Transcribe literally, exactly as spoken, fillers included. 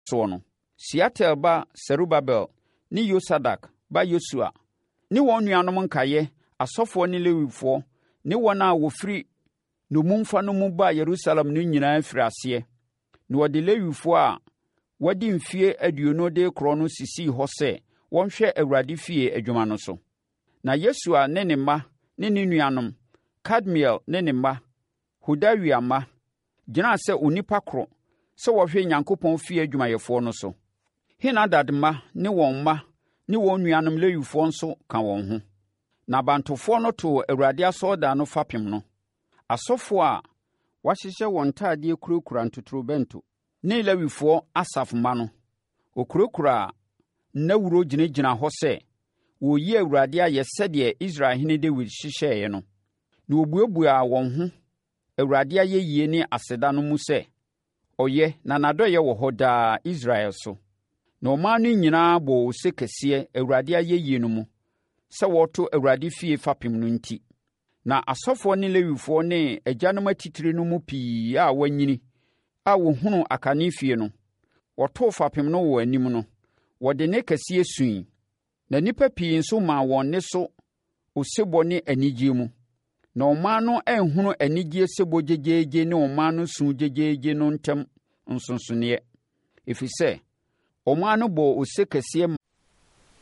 Soɔ no, Sealtiel ba Serubabel ne Yosadak ba Yesua ne wɔn nuanom nkaeɛ, asɔfoɔ ne Lewifoɔ ne wɔn a wɔfiri nnommumfa no mu baa Yerusalem no nyinaa firii aseɛ. Na wɔde Lewifoɔ a wɔadi mfeɛ aduonu de rekorɔ no sisii hɔ sɛ wɔnhwɛ Awurade fie adwuma no so. Na Yesua ne ne mma ne ne nuanom, Kadmiel ne ne mma, Hodawia mma, gyinaa sɛ onipa koro sɛ wɔhwɛ Onyankopɔn fie adwumayɛfoɔ no so. Henadad mma ne wɔn mma ne wɔn nuanom Lewifoɔ nso ka wɔn ho. Na abantofoɔ no too Awurade asɔredan no fapem no. Asɔfoɔ a wɔahyehyɛ wɔn ntadeɛ kurakura ntotorobɛnto, ne Lewifoɔ Asaf mma no, wɔkurakuraa nnawuro gyinagyinaa hɔ sɛ wɔreyi Awurade ayɛ sɛdeɛ Israelhene Dawid hyehyɛeɛ no. Na wɔbuebuaa wɔn ho Awurade ayɛyie ne aseda no mu sɛ, Ɔyɛ na n'adɔeɛ wɔ hɔ daa Israel so. Na ɔman no nyinaa bɔɔ ose kɛseɛ Awurade ayɛyie no mu sɛ wɔreto Awurade fie fapem no enti. Na asɔfoɔ ne Lewifoɔ ne agyanom atitire no mu pii a wɔanyini a wɔhunuu akane fie no, wɔtoo fapem no wɔ wɔn anim no, wɔde nne kɛseɛ suiɛ. Na nnipa pii nso maa wɔn nne so osebɔ ne anigyeɛ mu. Na ɔman no anhunu anigyeɛ sebɔ gyegyeegye ne ɔman no su gyegyeegye no ntam nsonsonoeɛ, ɛfiri sɛ, ɔman no bɔɔ ose kɛseɛ